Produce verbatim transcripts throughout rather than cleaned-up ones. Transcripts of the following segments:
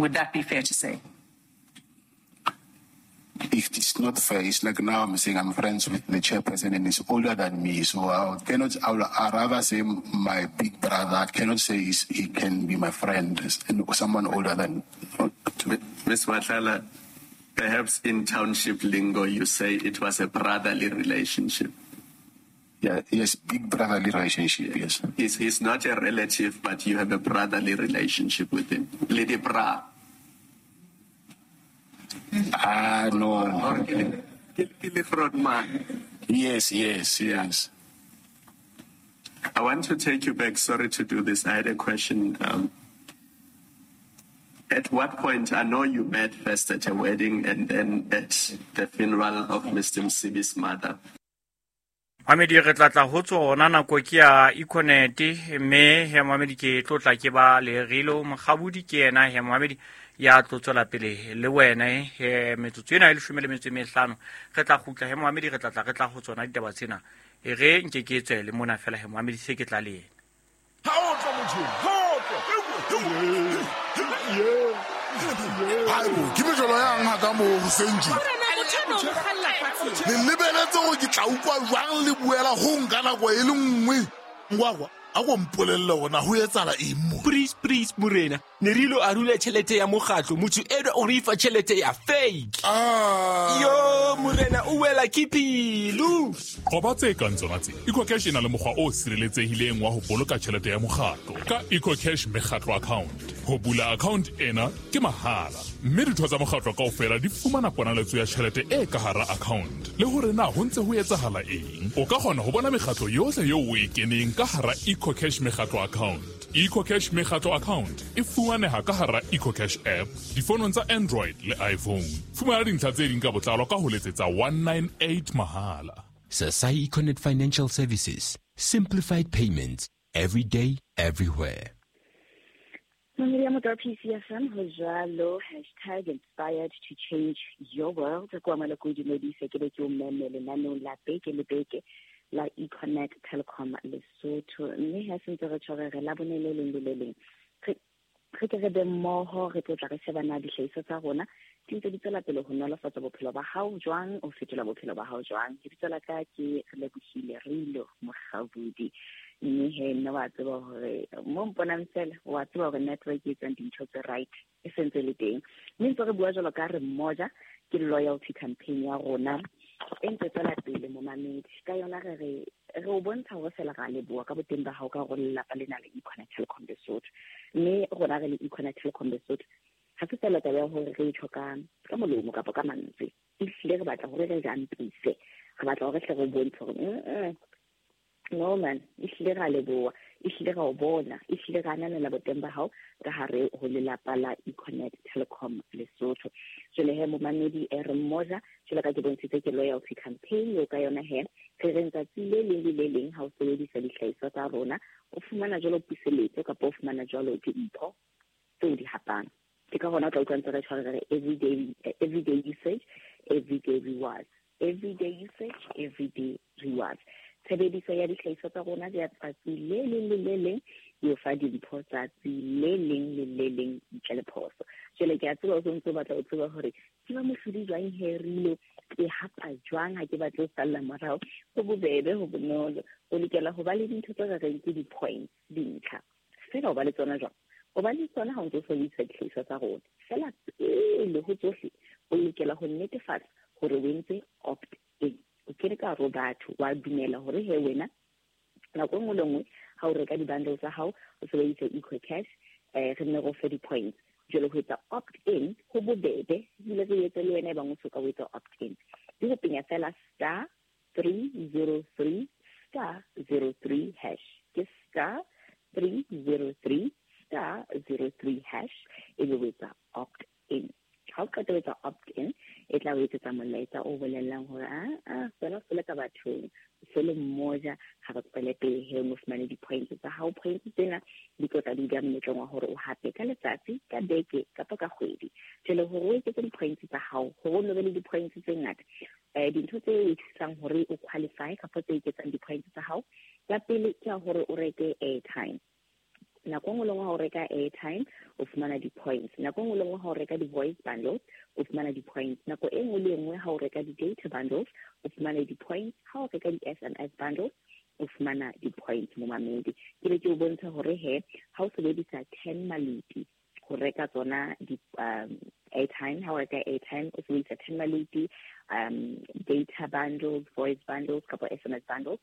Would that be fair to say? If it's not fair, it's like now I'm saying I'm friends with the chairperson and he's older than me, so I cannot, I would rather say my big brother. I cannot say he's, he can be my friend, someone older than. Miz Matlala, perhaps in township lingo you say it was a brotherly relationship. Yeah, yes, big brotherly relationship, yes. He's, he's not a relative, but you have a brotherly relationship with him. Lady Bra. Ah, no. Yes, yes, yes. I want to take you back. Sorry to do this. I had a question. Um, at what point, I know you met first at a wedding and then at the funeral of Mister Msibi's mother. Mamedi re tla tla ho tsona nako ke ya Econet mme he Mamedi ke tlotla ke ba le Rilo Mokgabudi ke yena he Mamedi ya tlo tswela pele le wena he metsotso ena e leshome le metso e mehlano re tla kgutla he Mamedi re tla tla re tla ho tsona ditaba tsena e re nke ke tswe le mona fela he Mamedi se ke tla le yena ha o tla motho ha o tla Haibo ke mejolo yang ha ka mo senji le lebeletse gore ke tla utlwa jwang le buela ho nka nako e le nngwe ngwagwa a go mpolelle gona ho etsala eng mo please please morena ne re ilo a rula tšhelete ya mokgatlo motho eno o re fa tšhelete ya fake ah yo morena o wela ke pelo qoba tse kang tsona tse EcoCash e na le mokgwa o sireletsehileng wa ho boloka tšhelete ya mokgatlo ka EcoCash mekgatlo account. Ho bula account ena ke mahala mme ditho tsa mokgatlo kaofela di fumana ponaletso ya tšhelete e ka hara account le hore na ho ntse ho etsahala eng. O ka kgona ho bona mekgatlo yohle eo o e keneng ka hara EcoCash mekgatlo account. EcoCash mekgatlo account e fumaneha ka hara EcoCash app difonong tsa Android le iPhone. Fumana dintlha tse ding ka botlalo ka ho letsetsa one nine eight mahala. Sasai Econet Financial Services, simplified payments every day, everywhere. Mamedi ya P C F M ho jwalo hashtag inspired to change your world. Kwa maloko dumedise ke be ke o meme lenaneong la beke le beke la Econet Telecom Lesotho mme ha se ntse re tshwere re la bone le leng le le leng re ke re be mmoho re tlotla re shebana dihlahiso tsa rona di ntse di tswela pele ho nolofatsa bophelo ba hao jwang o fetola bophelo ba hao jwang. Lebitso la ka ke Relebohile Rilo Mokgabudi mme he nna wa tseba hore mo mponang fela wa tseba hore network e etsang dintho tse right e sentse le teng mme ntse re bua jwalo ka re mmoja ke loyalty campaign ya rona e ntse tswela pele momamedi ka yona re re re o bontsha hore fela ra leboha ka boteng ba hao ka hore lelapa lena le Econet Telecom Lesotho mme rona re le Econet Telecom Lesotho ha se fela taba ya hore re itjho ka ka molomo kapa ka mantswe ehlile re batla hore re jampise re batla hore hle re bontshe hore no man ehlile ra leboha ehlile ra o bona ehlile ra ananela boteng ba hao ka hare ho lelapa la Econet Telecom Lesotho. Jwale he momamedi e re mmoja jwalo ka ke bontshitse ke loyalty campaign eo ka yona he re re tsatsi le leng le le leng ha o sebedisa dihlahiswa tsa rona o fumana jwalo puseletso kapa o fumana jwalo dimpho tseo di hapang. Ke ka hona o tla utlwa ntse re tshware re everyday everyday usage everyday rewards everyday usage everyday rewards. Tshebediso ya dihlahiswa tsa rona ya tsatsi le leng le le leng e o fa dimpho tsatsi le leng le le leng ntle le phoso. Jwale ke a tseba o ntse o batla o tseba hore ke ba mohlodi jwang he Rilo ke hapa jwang ha ke batle ho salla morao. Ho bobebe ho bonolo o lokela ho ba le dintho tse re reng ke di-points dintlha fela o ba le tsona jwang o ba le tsona ha o ntse o sebedisa dihlahiswa tsa rona fela pele ho tsohle o lokela ho netefatsa hore o entse opt in o kene ka hare ho batho wa dumela hore he wena nako e nngwe le nngwe ha o reka di-bundle tsa hao o sebedisa EcoCash eh re nne re o fe di-points. Jwale ho etsa opt in ho bobebe ebile re etse le wena e bang o soka o etsa opt in di ho penya fela star three zero three star zero three hash ke star three zero three star zero three hash ebe o etsa opt in. Ha o qeta ho etsa opt in e tla o etsetsa molaetsa o bolellang hore a a fela fela ka bathong se le mmoja ha re tswele pele he o fumane di-points tsa hao. Points tsena di tlo tla di dula monyetleng wa hore o hape ka letsatsi ka beke kapa ka kgwedi. Jwale hore o eketse di-points tsa hao hore o no be le di-points tse ngata um dintho tse o thusang hore o qualify kapa tse eketsang di-points tsa hao ya pele ke ya hore o reke airtime. Nako nngwe le nngwe ha o reka airtime o fumana di-points, nako nngwe le nngwe ha o reka di-voice bundles o fumana di-points, nako e nngwe le nngwe ha o reka di-data bundles o fumana di-points, ha o reka di-S M S bundles o fumana di-points momamedi. Ke be ke o bontsha hore he ha o sebedisa ten maluti ho reka tsona di um, airtime, ha o reka airtime o sebedisa ten maluti, um, data bundles, voice bundles kapa S M S bundles,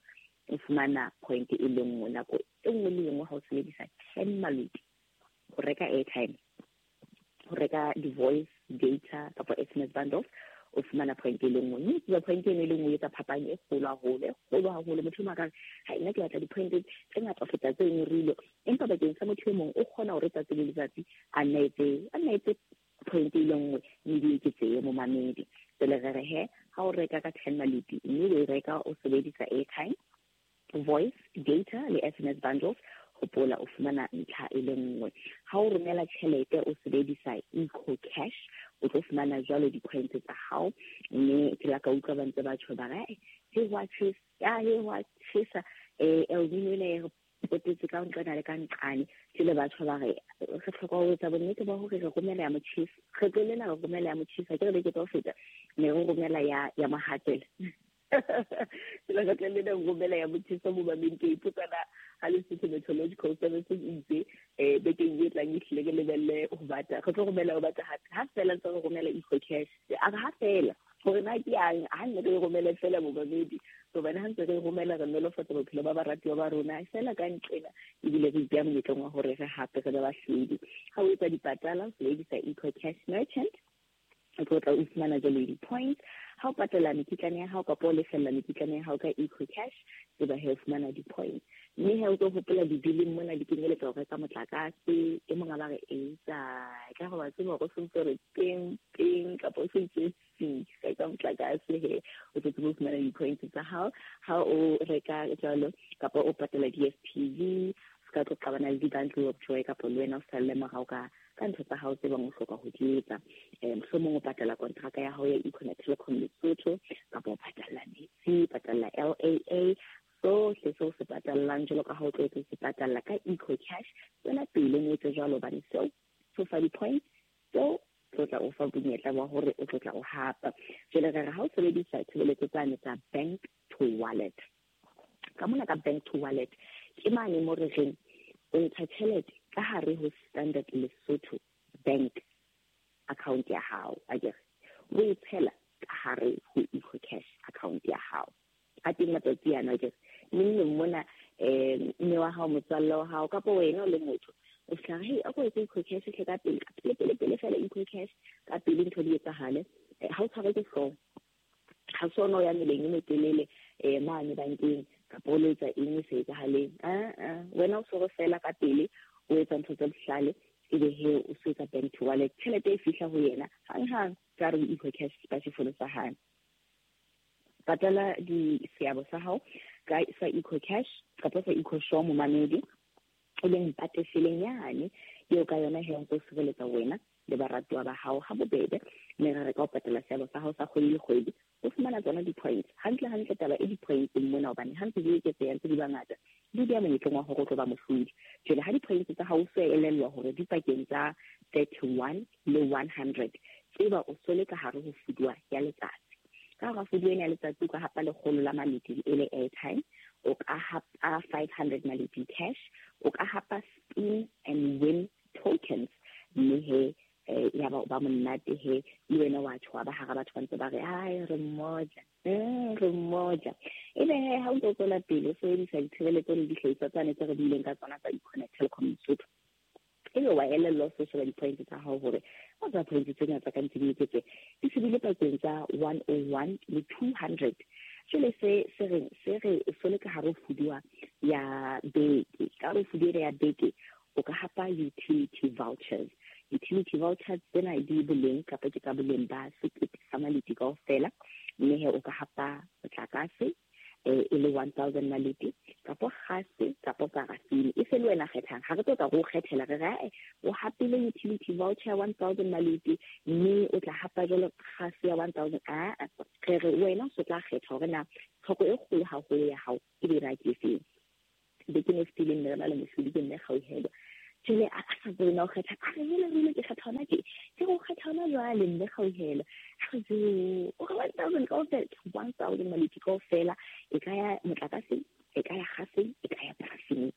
o fumana point e le nngwe. Nako e nngwe le nngwe ha o sebedisa ten maluti ho reka airtime, ho reka di-voice, data kapa S M S bundles, o fumana point e le nngwe. Mme tseba point eno e le nngwe e etsa phapang e kgolo haholo, e kgolo haholo. Motho o mong a ka re, ha nna ke batla di-point tse ngata ho feta tse nngwe, empa bakeng sa motho e mong o kgona hore tsatsi le letsatsi a nna etse, a nna etse point e le nngwe mme di eketsehe momamedi. Jwale re re he ha o reka ka ten maluti mme o e reka o sebedisa airtime, voice, data le S M S bundles, hopola o fumana ntlha e le nngwe. Ha o romela tjhelete o sebedisa Eco Cash, o tlo fumana jwalo di-points tsa hao. Mme ke la ka utlwa ba ntse ba tjho ba re, he wa tjhesa, ya he wa tjhesa, eh El Nino ena e re potetse ka nqana le ka nqane. Jwale ba tjho ba re re hloka ho etsa bonnete ba hore re romela ya motjheso, kgetlo lena re romela ya motjheso, ha ke re beke tsa ho feta ne re romela ya ya mohatsela. Jwale kgetlo lena re romela ya motjheso momamedi. Ke ipotsa na ha Lesotho Meteorological Services itse eh bekeng e tlang e hlile ke lebelle ho bata, re tlo romela ho bata hape. Ha fela ntse re romela Eco Cash, a re ha fela hore na ke yang ha nne re romele fela momamedi, hobane ha ntse re romela re nolofatsa bophelo ba baratuwa ba rona fela ka nqena, ebile re ipeha monyetleng wa hore re hape re be bahlodi. Ha o etsa dipatala o sebedisa Eco Cash Merchant, o tlo tla o fumana jwale di-points. Ha o patala mekitlane ya hao kapa o lefella mekitlane ya hao ka Eco Cash, tseba he o fumana di-points. Mme he o tlo hopola dibileng mona di kenyeletsa ho reka motlakase, e mong a ba re etsa ka go ba tseba hore o sentse re teng teng kapa o sentse si reka motlakase, he o tlo tseba ho fumana di-points tsa hao. Ha o reka jwalo kapa o patala D S T V, se ka tlo qabana le di-bundle of joy kapa le wena o salle morao ka ka ntho tsa hao tse bang o hloka ho di etsa. Eh mohlomong o patala kontraka ya hao ya Econet Telecom Lesotho, kapa o patala metsi, patala L A A, sohle seo se patallang jwalo ka ha o tlwaetse se patalla ka Eco Cash. Tswela pele o etse jwalo hobane seo se o fa di-points, seo tlo tla o fa monyetla wa hore o tlo tla o hapa. Jwale re re ha o sebedisa tshebeletso tsane tsa bank to wallet, ka mona ka bank to wallet ke mane mo re reng o ntsha tjhelete ka hare ho Standard Lesotho Bank account ya hao, akere o e tshela ka hare ho Eco Cash account ya hao. A teng matsatsi ana akere neng neng mona um mme wa hao, motswalle wa hao kapa wena o le motho o fihla re, hei a ko etse Eco Cash hle ka pele, ka pele pele pele fela Eco Cash ka pele ntho di etsahale. Ha o tshwarwe ke hlooho, ha se ona o ya meleng e metelele um mane bankeng kapa o lo etsa eng e sa etsahaleng. A wena o tshwere fela ka pele, o etsa ntho tse bohlale, ebe he o se etsa bank to wallet, tjhelete e fihla ho yena hanghang ka hare ho Eco Cash smartphone sa hae. Patala di seabo sa hao ka sa Eco Cash kapa sa Eco Show momamedi, e leng pateseleng yane eo ka yona he o ntso sireletsa wena le baratuwa ba hao ha bobebe. Mme re re ka o patala seabo sa hao sa kgwedi le kgwedi, o fumana tsona di-points hantle hantle. Taba e di-points mona hobane ha ntse di eketseha ntse di ba ngata, di beha monyetleng wa hore o tlo ba mohlodi. Jwale ha di-points tsa hao o so elellwa hore di pakeng tsa thirty-one le one hundred, tseba o so le ka hare ho fuduwa ya letsatsi. Ka hara fuduwa ena ya letsatsi o ka hapa lekgolo la maleti e le airtime, o ka hapa five hundred maleti cash, o ka hapa spin and win tokens. Mme he ya ba ba monate he le wena wa tjho ba hara batho ba ntse ba re ai re mmoja, eh re mmoja. Ebe he ha o ntso tswela pele o sebedisa ditshebeletso le dihlahiswa tsane tse re buileng ka tsona tsa Econet Telecom Lesotho, ebe wa elellwa o sheba di-points tsa hao hore o tsa points tse ngata ka ntse di eketse di shebile pakeng tsa one oh one le two hundred. Jwale se se reng se re o so le ka hare ho fuduwa ya beke, ka hare ho fuduwa ya beke o ka hapa utility vouchers. Utility vouchers tsena di boleng kapa ke ka boleng ba sekete sa maleti kaofela, mme he o ka hapa motlakase e le one thousand maleti kapa gase kapa parafini. E se le wena kgethang, ha re tlo tla go kgethela re re o hapile utility voucher one thousand maleti mme o tla hapa jwalo gase ya one thousand. A re re wena o tla kgetha hore na tlhoko e kgolo haholo ya hao e be ra ke efeng. Bekeng e fetileng ne re na le mohlodi ke mme Kgauhelo, Jwale a sa tsebe na o kgetha, a re jwale re ile ke kgetha hona tje, ke go kgetha hona jwale mme Kgauhelo. A re jo, o re one thousand kaofela, one thousand Maleti kaofela, e ka ya motlakaseng, e ka ya gaseng, e ka ya parafineng.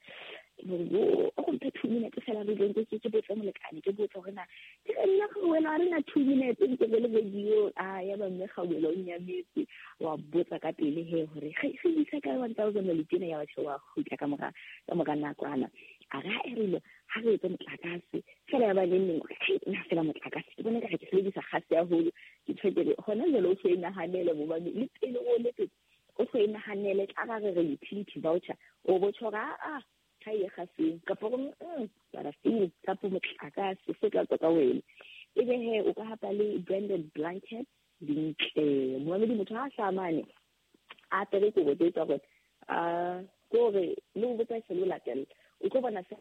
O go mphe two minutes fela re tleng ke ke botse molekane, ke botse hore na ke re nna Kgauhelo ha re na two minutes ntse re le radio. A ya ba mme Kgauhelo o nyametse, wa botsa ka pele he hore re re isa ka one thousand Maleti ena ya batho wa kgutla ka mora ka mora nakwana. A re ha e rile ha re etse motlakase fela ya ba le neng nna fela motlakase ke bona ka re ke sebedisa gase haholo, ke tshwekere hona jwale o so e nahanele mobane le pele o letsetse o so e nahanele tla ra re re utility voucher o bo tjho a a ha e gaseng kapa go mm parafini kapa motlakase se tla tswa ka wena. Ebe he o ka hapa le branded blanket dintle momamedi motho ha hlamane a apere kobo tse tsa gore a kore le o botsa se lo latela o tlo bona se